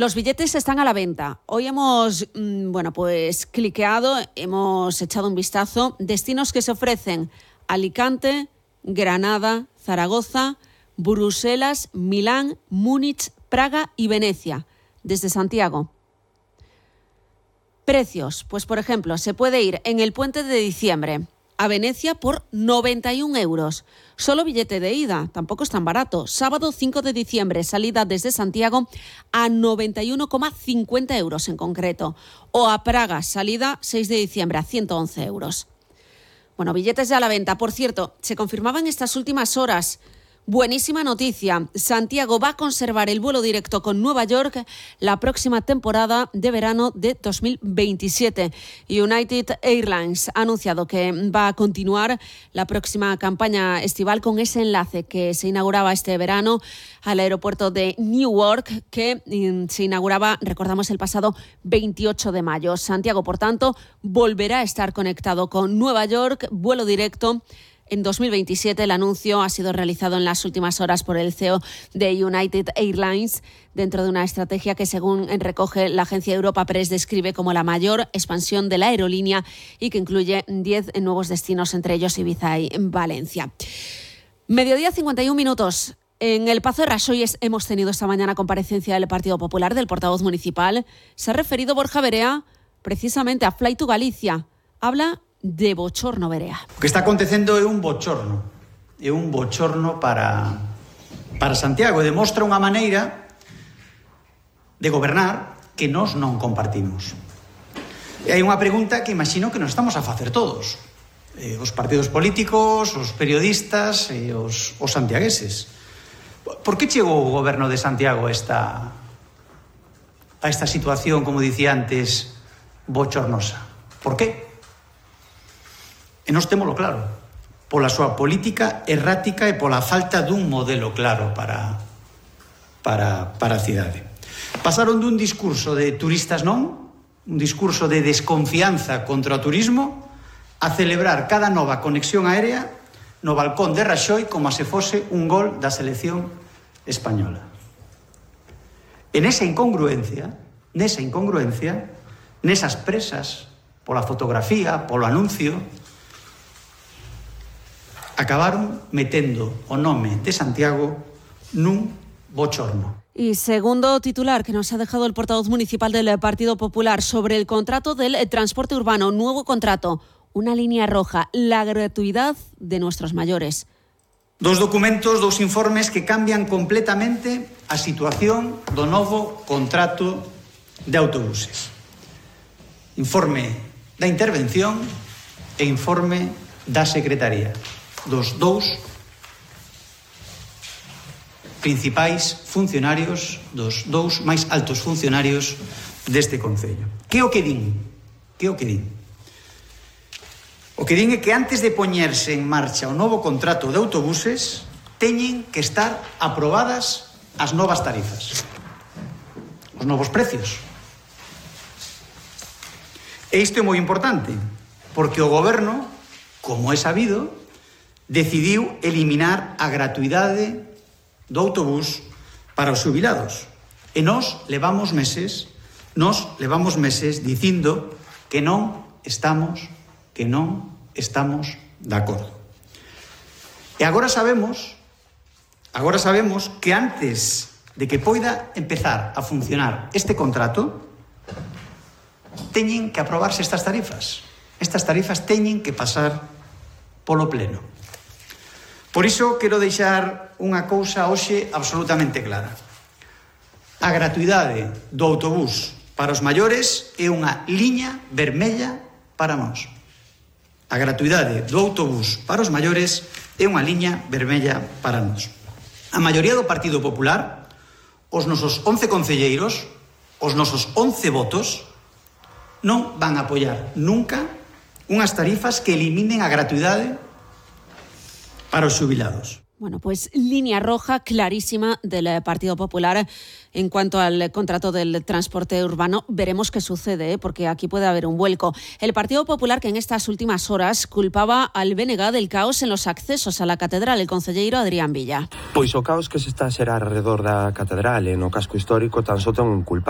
Los billetes están a la venta. Hoy hemos, cliqueado, hemos echado un vistazo. Destinos que se ofrecen: Alicante, Granada, Zaragoza, Bruselas, Milán, Múnich, Praga y Venecia, desde Santiago. Precios, pues por ejemplo, se puede ir en el puente de diciembre a Venecia por 91 euros. Solo billete de ida, tampoco es tan barato. Sábado 5 de diciembre, salida desde Santiago a 91,50 euros en concreto. O a Praga, salida 6 de diciembre a 111 euros. Bueno, billetes ya a la venta. Por cierto, se confirmaba en estas últimas horas. Buenísima noticia. Santiago va a conservar el vuelo directo con Nueva York la próxima temporada de verano de 2027. United Airlines ha anunciado que va a continuar la próxima campaña estival con ese enlace que se inauguraba este verano al aeropuerto de Newark, que se inauguraba, recordamos, el pasado 28 de mayo. Santiago, por tanto, volverá a estar conectado con Nueva York, vuelo directo en 2027. El anuncio ha sido realizado en las últimas horas por el CEO de United Airlines, dentro de una estrategia que, según recoge la agencia Europa Press, describe como la mayor expansión de la aerolínea y que incluye 10 nuevos destinos, entre ellos Ibiza y Valencia. Mediodía, 51 minutos. En el Pazo de Raxoi hemos tenido esta mañana comparecencia del Partido Popular, del portavoz municipal. Se ha referido Borja Verea precisamente a Fly to Galicia. Habla de bochorno, Verea. O que está acontecendo é un bochorno para Santiago, e demostra unha maneira de gobernar que nós non compartimos. E hai unha pregunta que imagino que nos estamos a facer todos, os partidos políticos, os periodistas e os santiagueses. Por que chegou o goberno de Santiago a esta situación, como dicía antes, bochornosa? Por que? E nós témolo claro, pola súa política errática e pola falta dun modelo claro para a cidade. Pasaron dun discurso de turistas non, un discurso de desconfianza contra o turismo, a celebrar cada nova conexión aérea no balcón de Raxoi como se fose un gol da selección española. E nesa incongruencia, nesas presas pola fotografía, polo anuncio, acabaron metendo o nome de Santiago nun bochorno. Y segundo titular que nos ha dejado el portavoz municipal del Partido Popular sobre el contrato del transporte urbano, nuevo contrato, una línea roja, la gratuidad de nuestros mayores. Dos documentos, dos informes que cambian completamente a situación do novo contrato de autobuses. Informe da intervención e informe da Secretaría, dos dous principais funcionarios, dos dous máis altos funcionarios deste concello. Que o que din? O que din é que antes de poñerse en marcha o novo contrato de autobuses teñen que estar aprobadas as novas tarifas, os novos precios. E isto é moi importante, porque o goberno, como é sabido, decidiu eliminar a gratuidade do autobús para os xubilados. E nós levamos meses dicindo que non estamos de acordo. E agora sabemos que antes de que poida empezar a funcionar este contrato, teñen que aprobarse estas tarifas. Estas tarifas teñen que pasar polo pleno. Por iso quero deixar unha cousa hoxe absolutamente clara. A gratuidade do autobús para os maiores é unha liña vermella para nós. A gratuidade do autobús para os maiores é unha liña vermella para nós. A maioría do Partido Popular, os nosos 11 concelleiros, os nosos 11 votos, non van a apoiar nunca unhas tarifas que eliminen a gratuidade para os xubilados. Bueno, pues línea roja clarísima del Partido Popular en cuanto al contrato del transporte urbano. Veremos qué sucede, porque aquí puede haber un vuelco. El Partido Popular, que en estas últimas horas culpaba al BNG del caos en los accesos a la catedral, el concelleiro Adrián Villa. Pois o caos que se está a xerar alrededor da catedral e no casco histórico tan só ten un culpable.